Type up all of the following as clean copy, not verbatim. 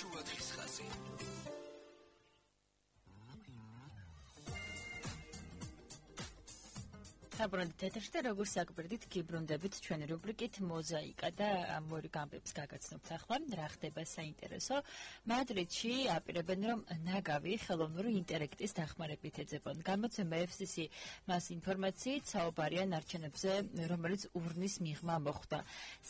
შუადღის ხაზი. საბრუნდით ეთერში როგორც საკვირდით გიბრუნდებით ჩვენი რუბრიკით მოზაიკა და ამორი გამბებს გაგაცნობთ ახლა რა ხდება საინტერესო მადრიდში აპირებენ რომ ნაგავი ხელოვნური ინტელექტის დახმარებით ეძებონ გამოცემა FCC მას ინფორმაციით საუბარია ნარჩენებზე რომელიც ურნის მიღმა მოხდა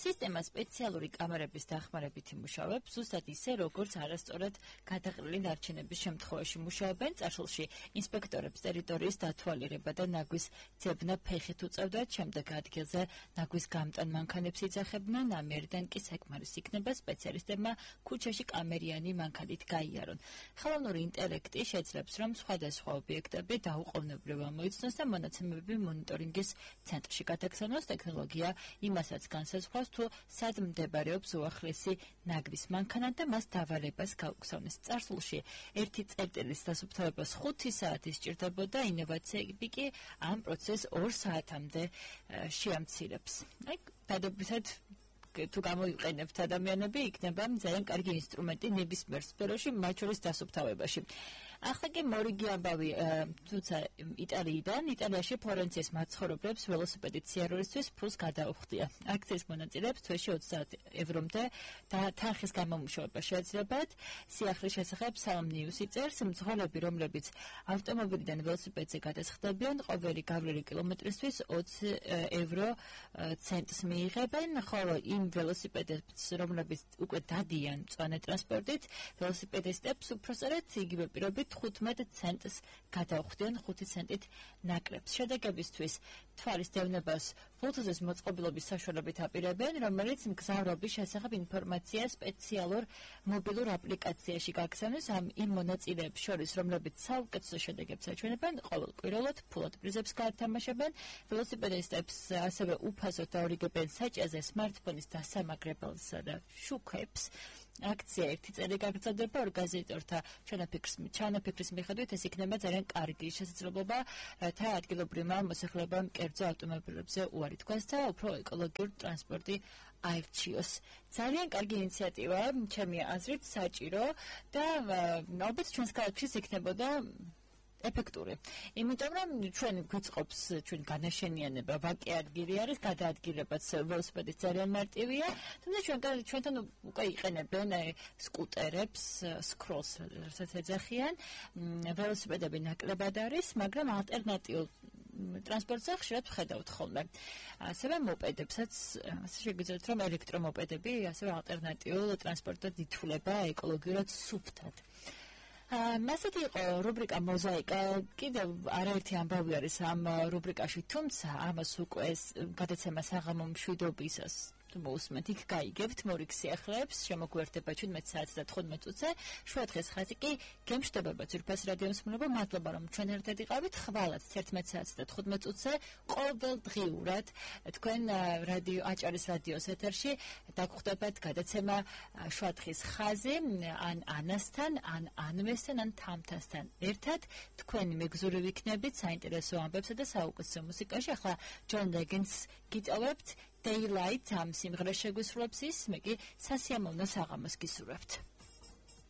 სისტემა სპეციალური კამერების დახმარებით იმუშავებს ზუსტად ისე როგორც არასწორად გადაყრილი ნარჩენების შემთხვევაში მუშაობენ წარსულში ინსპექტორებს ტერიტორიის დათვალიერება და ნაგვის ძებნა ფეხით უწევდათ, შემდეგ ადგილზე ნაგვის გამტან მანქანებს იძახებდნენ, ამერიდან კი საკმარის იქნება სპეციალისტებმა ქუჩაში კამერიანი მანქანით გაიარონ. ხელოვნური ინტელექტი შეძლებს, რომ სხვადასხვა ობიექტები დაუყოვნებლივ ამოიცნოს და მონაცემები მონიტორინგის ცენტრში გადაგზავნოს. ტექნოლოგია იმასაც განსაზღვრავს, თუ სად მდებარეობს უახლესი ნაგვის მანქანა და მას დავალებას გაუგზავნეს. წარსულში ერთი წერტილის დასუფთავებას 5 საათი სჭირდებოდა, ინოვაციები კი ამ პროცესს 2 საათამდე შეამცირებს. აი, დადებითად თუ გამოიყენებთ ადამიანები, იქნება ძალიან კარგი ინსტრუმენტი ნებისმიერ სფეროში, მათ შორის დასუფთავებაში. ახლა კი მორიგი ამბავი თუმცა იტალიაში ფლორენციის მაცხოვრებლებს ველოსიპედით სიარულისთვის ფულს გადაუხდია. აქციის მონაწილეებს თვეში 20 ევრომდე და თანხის გამომუშავება შეეძლებათ. სიახლის შესახებ სალამნიუსი წერს, მძღოლები, რომლებიც ავტომობილიდან ველოსიპედზე გადასხდებიან, ყოველი გავლილი კილომეტრისთვის 20 евро ცენტს მიიღებენ, ხოლო იმ ველოსიპედებს, რომლებიც უკვე დადიან მწვანე ტრანსპორტით, ველოსიპედისტებს უпроსწორად იგივე პირობით 15 ცენტს გადაუხდიან 5 ცენტით ნაკლებს. შედეგებისთვის თვალის დევნებას ფულთუზის მოწყობილობის საშუალებით აპირებენ, რომელიც მგზავრობის შესახებ ინფორმაცია სპეციალურ მობილურ აპლიკაციაში გაგზავნეს იმ მონაწილეებს შორის, რომლებიც საუკეთესო შედეგებს აჩვენებენ, ყოველკვირეულად ფულად პრიზებს გაათამაშებენ, ველოსიპედისტებს ასევე უფასოდ დაურიგებენ საჭიაზე სმარტფონის დასამაგრებელსა და შუქებს. აქცია 1 წელი გაგრძელდება ორგანიზატორთა ჩანაფიქრის მიხედვით ეს იქნება ძალიან კარგი შესაძლებლობა რათა ადგილობრივმა მოსახლეობამ კერძო ავტომობილებზე უარი თქვას და უფრო ეკოლოგიური ტრანსპორტი აირჩიოს. ძალიან კარგი ინიციატივაა, ჩემი აზრით საჭირო და ალბათ ჩვენს ქალაქშიც იქნებოდა ეფექტური. იმიტომ რომ ჩვენ გვიწყობს ჩვენ განაშენიანება, ვაკე ადგილი არის, გადაადგილებაც ველოსიპედი ძალიან მარტივია, თუმცა ჩვენთან უკვე იყენებენ სკუტერებს, სკროლს, რასაც ეძახიან, ველოსიპედები ნაკლებად არის, მაგრამ ალტერნატიულ ტრანსპორტზე ხშირად ვხედავთ ხოლმე. ასევე მოპედებსაც, ასე შეგვიძლიათ რომ ელექტრომოპედები ასევე ალტერნატიულ ტრანსპორტად ითვლება ეკოლოგიურად სუფთად. მასეთი იყო რუბრიკა მოზაიკა, კიდევ არაერთი ამბავი არის ამ რუბრიკაში, თუმცა ამას უკვე გადაცემა საღამო მშვიდობისას მოусმენთ, იქ გაიგებთ მორიგ სიახლეებს, შემოგვერდება 17 საათს და 15 წუთზე, შუადღის ხაზი კი გემშვიდობება ძვირფას რადიოს მსმენელო, მადლობა რომ ჩვენ ერთად იყავით, ხვალაც 11 საათს და 15 წუთზე ყოველდღიურად თქვენ აჭარის რადიოს ეთერში დაგხვდებათ გადაცემა შუადღის ხაზი, ან ანასთან, ან ანვესთან, ან თამთასთან ერთად, თქვენი მეგზური ვიქნებით საინტერესო ამბებსა და საუკეთესო მუსიკაში. ახლა ჯონ ლეგენდს გიტოვებთ Daylight ამ სიმღერას შეგვისრულებს ის, მე კი სასიამოვნო საღამოს გისურვებთ.